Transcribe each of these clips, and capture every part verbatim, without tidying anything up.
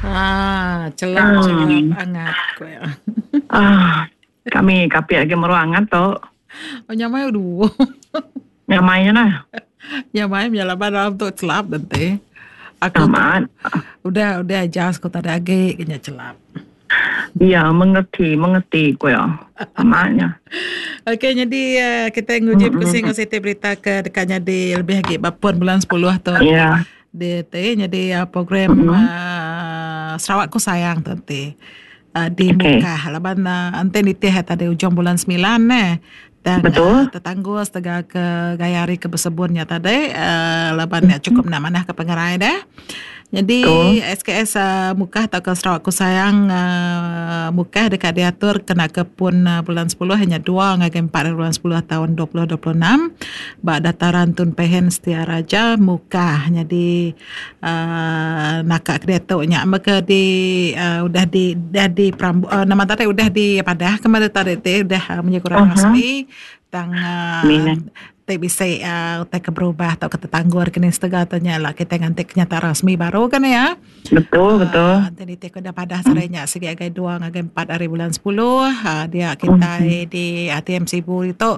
Ah, celap celap Hmm. angat ku ya. Ah, kami kapit lagi meru angat tu. Oh, nyamai dua. Nyamai nya nah. Nyamai laban dalam tu celap nanti. Aku tu Amat. udah udah adjust ku tadi agi kena celap. Ya, mengerti, mengerti ku ya. Amatnya. Okey, jadi uh, kita nguji Mm-mm. pusing siti berita ke dekatnya di lebih lagi bapun bulan sepuluh tu. Ya. Di te jadi uh, program Mm-mm. uh, Sarawakku Sayang tu nanti. Uh, di Okey. Mukah laban uh, ante nitih tadi ujung bulan sembilan eh. Dan Betul. uh, tetanggus tegak ke gaya hari ke bersebunnya tadi uh, laban ya cukup nak manah ke pengerai dah. Jadi Betul. S K S uh, Mukah atau ke Sarawakku Sayang uh, Mukah dekat diatur kena ke pun uh, bulan sepuluh hanya dua ngagai empat bulan sepuluh tahun dua puluh dua puluh enam bak dataran Tun Pehen Setia Raja Mukah. Jadi uh, nakak kedetuknya maka di uh, udah di dah di perambu, uh, nama tadi udah di padah kemarin tadi te udah uh, menyekurang Uh-huh. rasmi tang uh, Mina. te bisa uh, te berubah atau ketetangguar kini setengah tanya lah kita nganti kenyataan rasmi baru kan ya. Betul, betul. Uh, nanti te kuda pada serenya segi agai dua ngagai empat hari bulan sepuluh uh, dia kita Mm-hmm. di A T M Sibu itu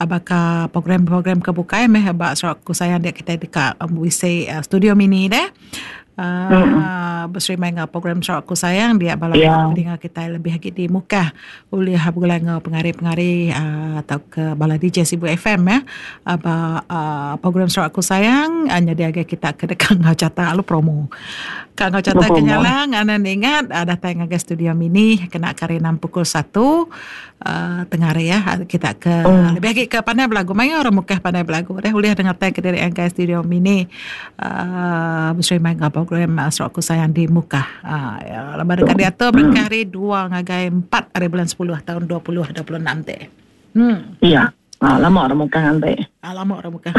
apakah program-program kebukai meh bak Sarawakku Sayang dia kita dekat um, wisi uh, studio mini deh. Uh, Mm-mm. Berserima dengan program Sarawakku Sayang dia bala Ya. pendengar kita lebih lagi di muka oleh bulan ngau pengari-pengari uh, atau ke bala D J Sibu F M ya. Aba uh, program Sarawakku Sayang hanya dia agak kita ke dekat ngau cata lu promo. Kak ngau cata Promo. kenyalang anda ingat ada datang ke studio mini kena kari enam pukul satu uh, tengah hari ya kita ke Mm. lebih lagi ke pandai belagu mayo orang muka pandai belagu deh boleh dengar tag ke diri angkai studio mini uh, berserima dengan program uh, Sarawakku Sayang di muka. Uh, ya, lepas dekat dia tu berkah hari dua ngagai empat hari bulan sepuluh tahun dua puluh dua puluh enam teh. Hmm. Ya. Ah, lama orang muka nanti. Ah, lama orang muka.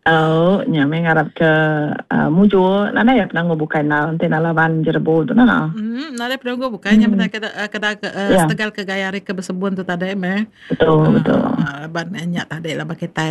Oh, nya mengarap ke uh, muju nana ya penanggu bukan na nanti nalaban jerbu tu nana. Hmm, nada penanggu bukannya Hmm. hmm. kena kena ke uh, Ya. setegal ke gaya hari ke bersebun tu tadi meh. Betul, betul. Uh, ban nyak tadi lah kita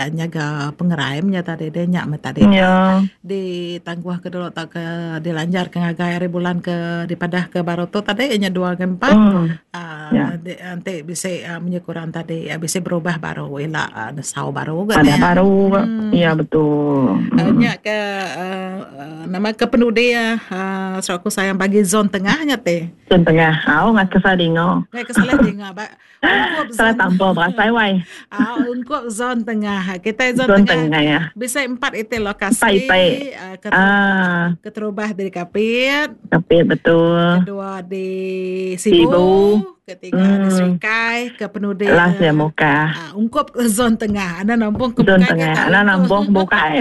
nyaga pengeraim nya tadi dia nyak meh tadi. Ya. Di tangguh ke dulu tak ke dilanjar ke ngagai hari bulan ke di padah ke baru tu tadi nya dua ke empat. Hmm. Uh, Ya. nanti, nanti bisa uh, menyekurang tadi uh, bisa berubah baru ila uh, nesau baru kan Ada ya. baru. Hmm. Ya betul. Uh, Hmm. nya ke uh, uh, nama ke penudi ya uh, Sarawakku Sayang bagi zon tengahnya teh. Zon tengah. Ah, ngat kesal dingo. Ngai kesalah dingo ba. Ungkup Salah zon. tanpa berasai wai. Ah, ungkup zon tengah. Kita zon, Zon tengah. tengah ya. Bisa empat itu lokasi. Empat itu. Uh, keter- Ah, keterubah dari Kapit. Kapit betul. Kedua di Sibu. Sibu. Ketiga di Hmm. Serikai, ke Penudi. Last ya muka. Ah, ungkup ke zon tengah. Anda nampung ke Zon bukai tengah. ke Anda tak? nampung bukai.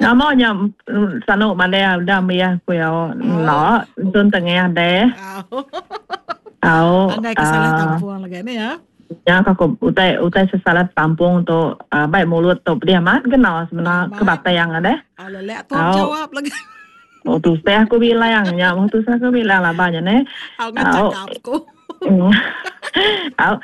Namanya sanu mana udah mia ku ya. No, zon tengah deh. Ah. Au. Anggai kesalah ah, tampung lagi ni ya. Ya aku utai utai sesalat tampung tu uh, baik mulut tu dia mat kenal sebenar Amat. ke batang ada. Ah, lelek tu Au. jawab lagi. Oh tu saya aku bilang ya, oh tu saya aku bilang lah banyak ni. Au ngacak Au. aku. Mm. Au,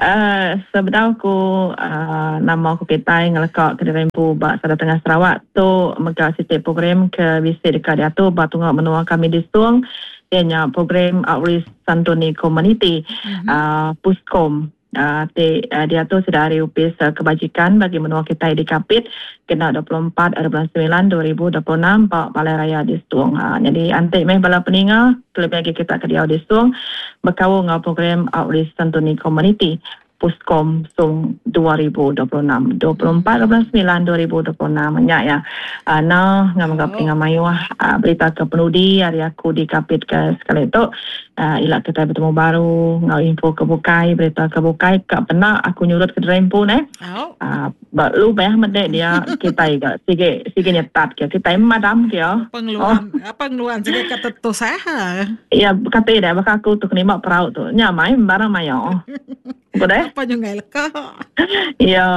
uh, sebenar aku uh, nama aku kita ngelekak ke Rempu bak Sada Tengah Sarawak tu mega siti program ke bisi dekat dia tu bak tunggu menua kami di Sung ianya program Outreach Santuni Community Mhm. uh, Puskom. Uh, te, uh, dia tu sudah hari upis uh, kebajikan bagi menua kita di Kapit kena dua puluh empat hari bulan sembilan dua ribu dua puluh enam Pak Balai Raya di Stung. Uh, jadi antik meh bala peninga lebih lagi kita ke dia di Stung berkawal dengan program Outreach Santuni Community Puskom Sung dua ribu dua puluh enam dua puluh empat hari bulan sembilan dua ribu dua puluh enam nyak ya. Uh, nah ngam ngam Oh. peninga mayuh uh, berita ke penudi hari aku di Kapit ke sekali tu. Uh, ilak kita bertemu baru ngau info ke bukai berita ke bukai kak pernah aku nyurut ke rempu ne. Au. Ah, uh, lu bayah medek dia kita iga sige sige nyetat ke kita madam ke ya. Pengeluaran, oh. Pengeluaran sige kata tu saya. Ya kata dia bakal aku tu kena perahu tu. Nyamai barang mayo. Boleh? Apa nyungai leka. Ya,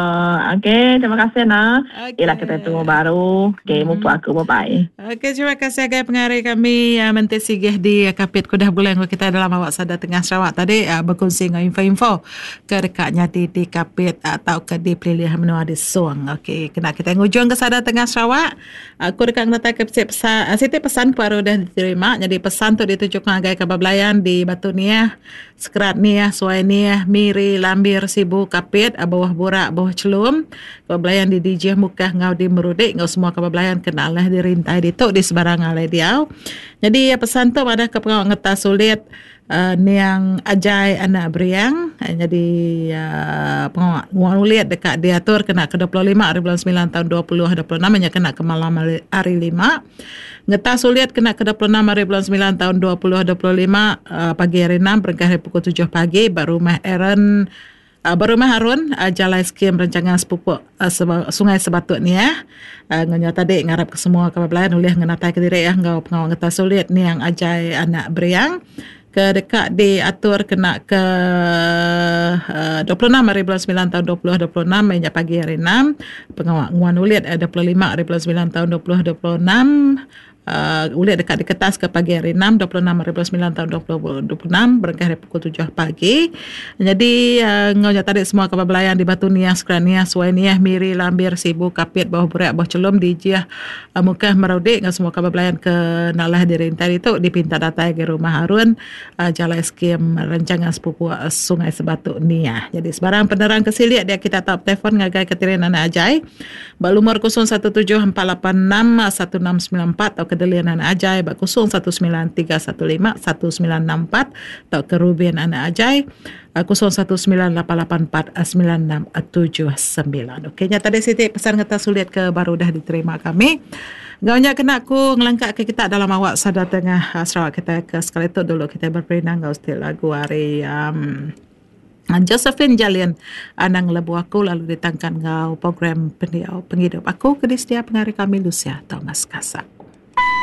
okey, terima kasih nah. Okey. Ialah kita tunggu baru. Okey, mm-hmm. Mupa aku bye bye. Okey, terima kasih agai pengari kami uh, Menteri Sigih di Kapit Kudah Bulan kita dalam awak sada tengah Sarawak tadi uh, berkongsi dengan info-info ke dekatnya di, di Kapit atau ke di Pelilih Menua di Suang. Okey, kena kita ngujung ke sada tengah Sarawak. Aku dekat ngetai ke pesan, siti pesan baru dah diterima. Jadi pesan tu ditujukan agai kabar belayan di Batu Niah, Sekerat Niah, Suai Niah, Miri, Lambir, Sibu, Kapit, Bawah Burak, Bawah Celum, kabar belayan di D J Mukah ngau di Merudik, ngau semua kabar belayan kena lah dirintai di tu di sebarang alai diau. Jadi pesan tu ada ke pengawak ngetas sulit uh, niang Ajai anak Beriang. Uh, jadi uh, pengawak ngulit dekat diatur kena ke dua puluh lima hari bulan sembilan tahun dua ribu dua puluh enam, hanya kena ke malam hari, hari lima. Ngetas sulit kena ke dua puluh enam hari bulan sembilan tahun dua ribu dua puluh lima, uh, pagi hari enam berengkah hari pukul tujuh pagi baru rumah Aaron Uh, berumah Harun, uh, Jalai Skim Rancangan Sepupuk uh, Seba, Sungai Sebatut ni ya. Uh, Ngenyo tadi ngarap ke semua kabar belayan oleh ngenatai ke diri ya ngau pengawak ngetas sulit ni yang Ajai anak Beriang ke dekat diatur kena ke uh, dua puluh enam hari bulan sembilan tahun dua ribu dua puluh enam hingga pagi hari enam. Pengawak nguan ulit uh, dua puluh lima hari bulan sembilan tahun dua ribu dua puluh enam. Uh, ulit dekat di kertas ke pagi hari enam, dua puluh enam hari bulan sembilan tahun dua ribu dua puluh enam berangkat hari pukul tujuh pagi. Jadi uh, ngau tadi semua kabar belayan di Batu Niah, Sekeran Niah, Suai Niah, Miri, Lambir, Sibu, Kapit, Bawah Burak, Bawah Celum, Dijah, uh, Mukah, Merudik ngau semua kabar belayan ke Nalah dirintai itu dipinta datang ke rumah Harun, uh, Jalai Skim Rancangan Sepupu uh, Sungai Sebatuk Niah. Jadi sebarang penerang kesiliak dia kita top telefon ngagai Keterin Anak Ajai. Balumur kosong satu tujuh empat lapan enam satu enam sembilan empat atau ke Delian Anak Ajai bak kosong satu sembilan tiga satu lima satu sembilan enam empat atau ke Ruben Anak Ajai kosong satu sembilan lapan lapan empat sembilan enam tujuh sembilan. Okey, nya tadi Siti pesan kata sulit ke baru dah diterima kami. Gaunya kena aku ngelangkak ke kita dalam awak sadar tengah Sarawak kita ke sekali tu dulu kita berperinang gau setiap lagu hari um, Josephine Jalian Anang Lebu Aku lalu ditangkan ngau program pendiau penghidup aku ke di setiap pengari kami Lucia Thomas Kasak.